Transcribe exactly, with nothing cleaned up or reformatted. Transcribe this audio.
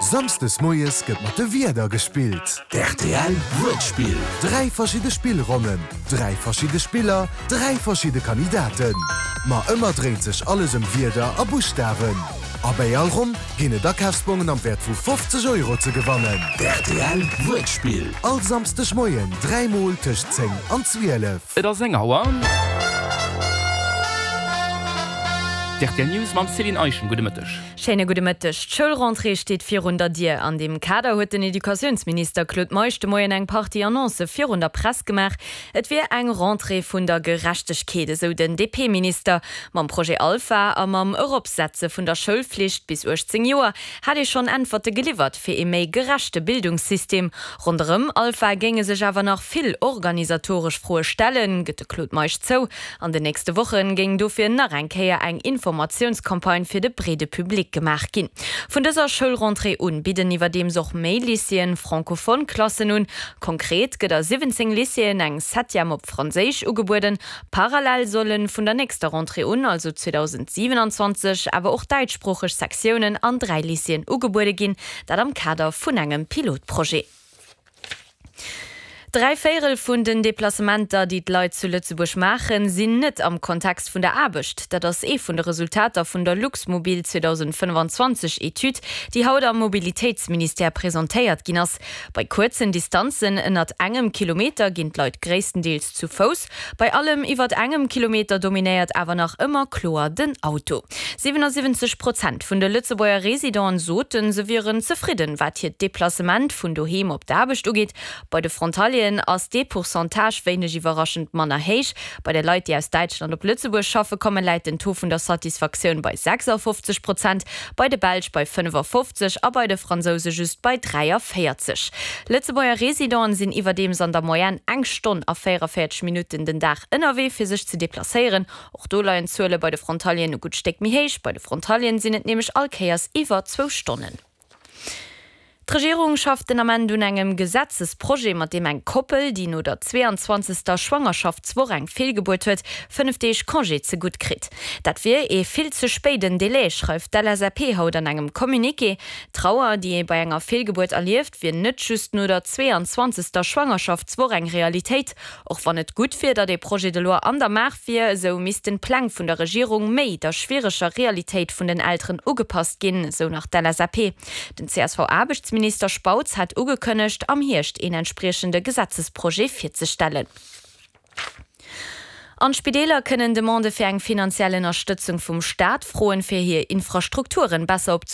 Samsdes moies gëtt mat de Wierder gespillt. D'R T L Wuertspill. Dräi verschidde Spillronnen, dräi verschidde Spiller, dräi verschidde Kandidaten. Ma ëmmer dréint sech alles ëm Wierder a Buschtawen. A bei all Ronn ginn et Akafsbongen am Wäert vu fofzeg Euro ze gewannen. D'R T L Wuertspill. All Samsdeg Moien dräimol tëscht zéng an zwielef. Et ass eng Auer. D' R T L News mam Céline Eischen. Gudde Mëtteg. Schéine gudde Mëtteg. D'Schoulrentrée steet virun der Dier. An deem Kader huet den Educatiounsminister Claude Meisch de Moien eng Partie Annoncë virun der Press gemaach. Et wier eng Rentrée vun der Gerechtegkeet, esou den D P-Minister. Mam Projet Alpha a mam Eropsetze vun der Schoulflicht bis uechtzéng Joer hätt ee schonn Äntwerte geliwwert fir ee méi gerechte Bildungssystem. Ronderëm Alpha géinge sech awer nach vill organisatoresch Froe stellen, gëtt de Claude Meisch zou. An den nächste Woche géing dofir nach eng Kéier eng Informatiounscampagne fir de breede Public gemaach ginn. Vun dëser Schoulrentrée un bidden iwwerdeems och méi Lycéeën francophone Klassen un. Konkret gëtt a siwwenzéng Lycéeën eng Septième op Franséisch ugebueden. Parallel solle vun der nächster Rentrée un, also zweedausendsiwenanzwanzeg, awer och däitschsproocheg Sektiounen an dräi Lycéeën ugebuede ginn, dat am Kader vun engem Pilotprojet. Dräi Véierel vun den Deplacementer, déi d'Leit zu Lëtzebuerg maachen, sinn net am Kontext vun der Aarbecht. Dat ass ee vun de Resultater vun der Luxmobil zweedausendfënnefanzwanzeg Etüd, déi haut am Mobilitéitsministère presentéiert ginn ass. Bei kuerzen Distanzen ënnert engem Kilometer ginn d'Leit gréisstendeels zu Fouss. Bei allem iwwer engem Kilometer dominéiert awer nach ëmmer kloer den Auto. siwenasiwwenzeg Prozent vun de Lëtzebuerger Residenten soten, se wieren zefridden, wat hiert Deplacement vun doheem op d'Aarbecht ugeet. Bei de Frontalieren ass dee Pourcentage wéineg iwwerraschend manner héich. Bei de Leit, déi aus Däitschland op Lëtzebuerg schaffe kommen, läit den Taux vun der Satisfaktioun bei sechsafofzeg Prozent, bei de Belsch bei fënnefafofzeg a bei de Fransouse just bei dräiavéierzeg. Lëtzebuerger Residenten sinn iwwerdeems an der Moyenne eng Stonn a véierunvéierzeg Minutten den Dag ënnerwee fir sech ze deplacéieren. Och do leien d'Zuele bei de Frontalieren e gutt Stéck méi héich. Bei de Frontalieren sinn et nämlech all Kéiers iwwer zwou Stonnen. D'Regierung schafft den Ament un engem Gesetzesprojet, mat deem eng Koppel, déi no der zweeanzwanzegster Schwangerschaftswoch eng Feelgebuert huet, fënnef Deeg Congé zegutt kritt. Dat wier ee vill ze spéiden Delai, schreift d'L S A P haut an engem Communiqué. D'Trauer, déi ee bei enger Feelgebuert erlieft, wier net just no der zweeanzwanzegster Schwangerschaftswoch eng Realitéit. Och wann et gutt wier, datt dee Projet de loi an der Maach wier, esou missten d'Pläng vun der Regierung méi der schwiereger Realitéit vun den Elteren ugepasst ginn, sou nach d'L S A P. Den C S V-Aarbechtsminister Spautz hat ugekënnegt, am Hierscht een entspriechende Gesetzesprojet virzestellen. An d'Spideeler kënnen Demandë fir eng finanziell Ënnerstëtzung vum Staat froen, fir hir Infrastrukturen besser op